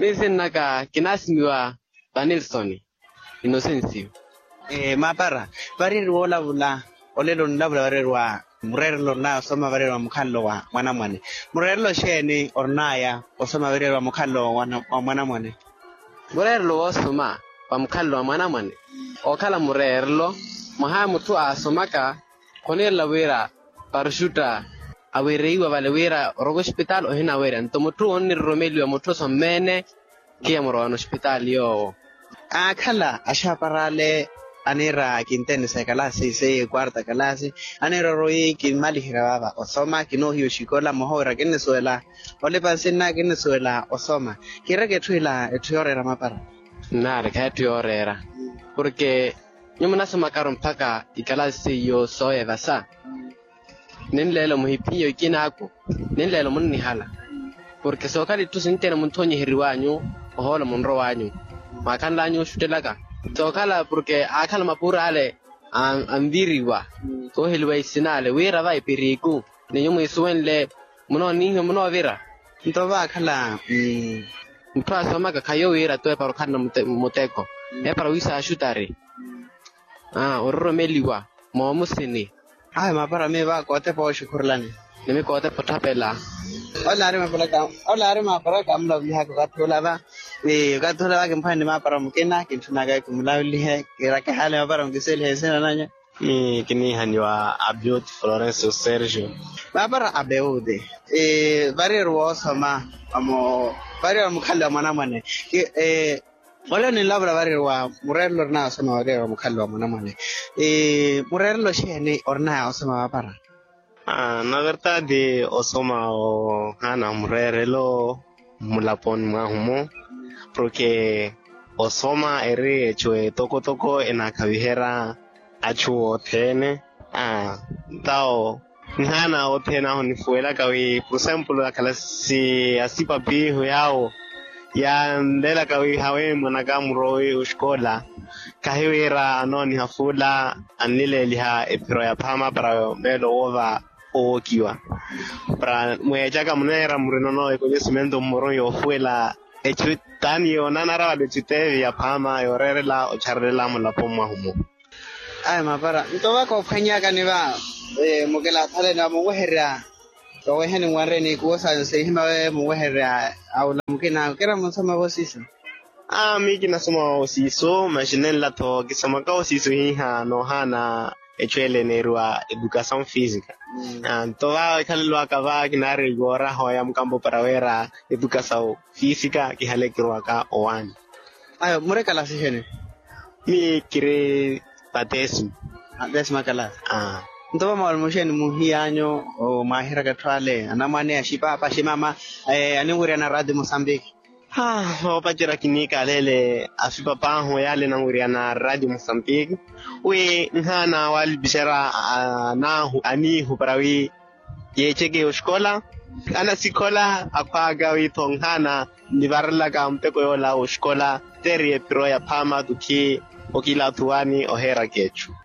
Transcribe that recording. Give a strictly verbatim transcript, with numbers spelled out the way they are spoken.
Miyo sinnaka kinaasimiwa vanilsoni. Inosensiyo. Maapara, variyeriwa olavula olelo nilavula variyeriwa mureerelo orinaya osoma variyeriwa mukhalelo wa mwanamwane? Mureerelo xeeni orinaya osoma variyeriwa mukhalelo wa mwanamwane? Mureerelo woosoma wa mukhalelo wa mwanamwane ookhala mureerelo mwaha mutthu aasomaka khoniirela wira paruxutta awereiwa vale wira oroka ospitaali ohinaweerya nto mutthu onniriromeliwa mutthu osommene. Khiya murowana ospitaali yoowo. Aakhala axaparale aniira kintenisa ekalaasi seiya ekwarta kalaasi aniira oroyi kimmaliherya vava osoma kinoohiya oxikola mmoha wira kinnisuwela olipa nsinna kinnisuwela osoma. Kiireke etthu ila etthu yooreera mapara. Nnaari khayi etthu yooreera porke nyuwo munasomakaru mpakha ikalaasi seiyo sooya evasa. Ninleelo muhiphiye okinaaku ninleelo munnihala porke sookhala itthu sinteene munthonyiheriwanyu. Ohoola munrowanyu mwaakhanlanyu oxuttelaka sookhala porke aakhala mapuura ale anviriwa kooheliwa isinale wira va epiriku ninyu mwiisuwenle munoonihiwa munoovira. Nto vaakhala mutthu aasomaka khayo wira tu epara okhalana muteko epara wiisaaxutari. Ororomeliwa moomusini. Awe maapara miyo va kootepa oxukhurulani. Nimi kootepa otthapela. Ole aari maapara kamulavulihaka okathi olava okathi olava kimpwanne maapara mukina kintthunaka kimulavulihe kiira kihaale maapara mukiselihe nsina nanya. Ni kiniihaniwa abioti florencio sergio. Maapara abioti variyeriwa oosoma vamo variyeriwa mukhalelo wa mwanamwane. Ole ninlavula variyeriwa mureerelo orinaya osoma variyeriwa mukhalelo wa mwanamwane. Mureerelo xeeni orinaya osoma vapara? Na vertadi osoma ohaana mureerelo mmulaponi mwahu-mo porke osoma eri echu etokotoko enaakhaviherya achu othene. Ntawo nhaana othene ahu nifuwelaka wi por exemplo akhala si asipapihu yaawo yanleelaka wi hawe mwanaka murowi oxikola khahiwira anooniha fuula annileeliha ephiro ya phaama para meelo woova owookiwa para mweecaka muneera murinono ekonhesimento mmuroni yoofuwela echu taani yoonanara vale echu teevi ya phaama yooreerela ocharelela mulapo mwahu-mo. Ayi mapara nto va koophwanyakani va mukilaathaleni va muwehererya. Vaweheni nwanreni ikuwo sanyu sihima we muwehererya awula mukina kira munsoma vosiiso. Aa miyo kinasoma osiiso maxi nenla-tho kisomaka osiiso hiiha noohaana echu ele eneeriwa edukasawu fisika. Nto va ekhalelo aka va kinaari yooraha oya mukampo para wira edukasawu fisika kihale kirowaka owaani. Ayo muri kalasi xeeni? Miyo kiri va tesima. Tesima kalasi. Nto va mwaali muxeeni muhiy'anyu mwaahiraka etthu ale anamwane axipaapa aximama aninwiriyana radio mosambiki? Voopacerya kiniikaleele afipap'ahu yaale enanwiriyana radio mosambiki wi nhaana waalipixerya anaahu aniihu para wi yeeceke oxikola anasikhola akhwaaka wi-tho nhaana nivarelaka muteko yoola oxikola teeri ephiro ya phaama tukhi okilaathuwani oheeraka echu.